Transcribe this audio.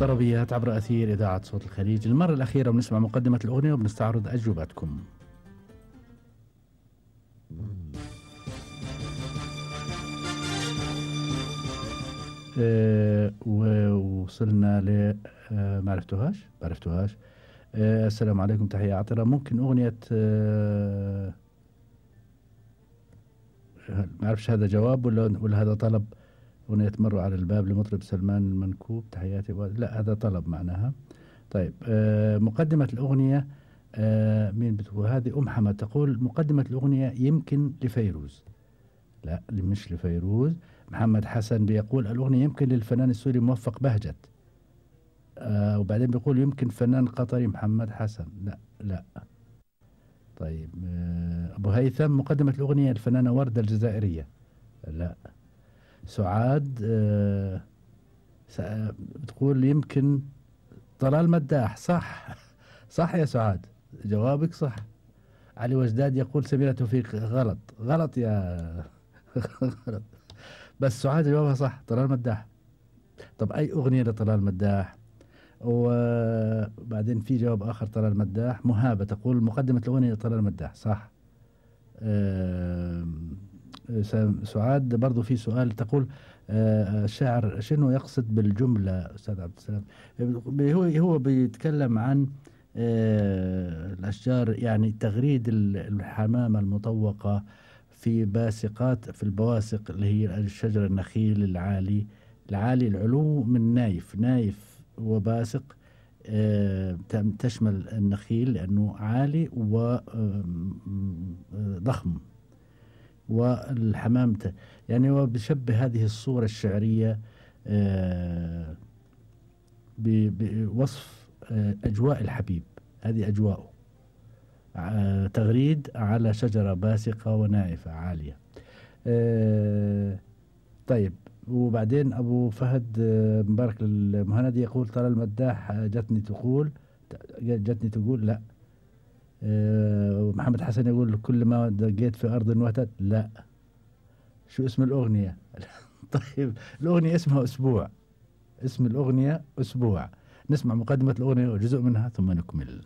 طربيات عبر أثير إذاعة صوت الخليج. المرة الأخيرة بنسمع مقدمة الأغنية وبنستعرض أجوبتكم. ووصلنا ل ما عرفتوهاش. السلام عليكم، تحية عطرة. ممكن أغنية ما أعرفش هذا جواب ولا هذا طلب. أغنية مروا على الباب لمطرب سلمان المنكوب، تحياتي. لا، هذا طلب معناها. طيب، مقدمة الأغنية مين بتقول؟ هذه حمد تقول مقدمة الأغنية يمكن لفيروز. لا، مش لفيروز. محمد حسن بيقول الأغنية يمكن للفنان السوري موفق بهجت. وبعدين بيقول يمكن فنان قطري محمد حسن. لا. طيب، أبو هيثم مقدمة الأغنية الفنانة وردة الجزائرية. لا. سعاد بتقول يمكن طلال مداح. صح صح يا سعاد، جوابك صح. علي وجداد يقول سميرة توفيق. غلط يا غلط. بس سعاد جوابها صح، طلال مداح. طب أي أغنية لطلال مداح؟ وبعدين في جواب آخر طلال مداح. مهابة تقول مقدمة الأغنية لطلال مداح. صح. سعاد برضو في سؤال تقول الشاعر شنو يقصد بالجملة أستاذ عبد السلام؟ هو بيتكلم عن الأشجار، يعني تغريد الحمامة المطوقة في البواسق اللي هي الشجر النخيل العالي العلو من نايف وباسق. تشمل النخيل لأنه عالي وضخم، والحمام يعني هو بيشبه هذه الصورة الشعرية بوصف أجواء الحبيب. هذه أجواءه، تغريد على شجرة باسقة ونائفة عالية. طيب، وبعدين أبو فهد مبارك المهندي يقول طلال المداح جتني تقول لا. ومحمد حسن يقول كل ما دقيت في أرض وهتت. لا. شو اسم الأغنية؟ طيب، الأغنية اسمها أسبوع. اسم الأغنية أسبوع. نسمع مقدمة الأغنية وجزء منها ثم نكمل.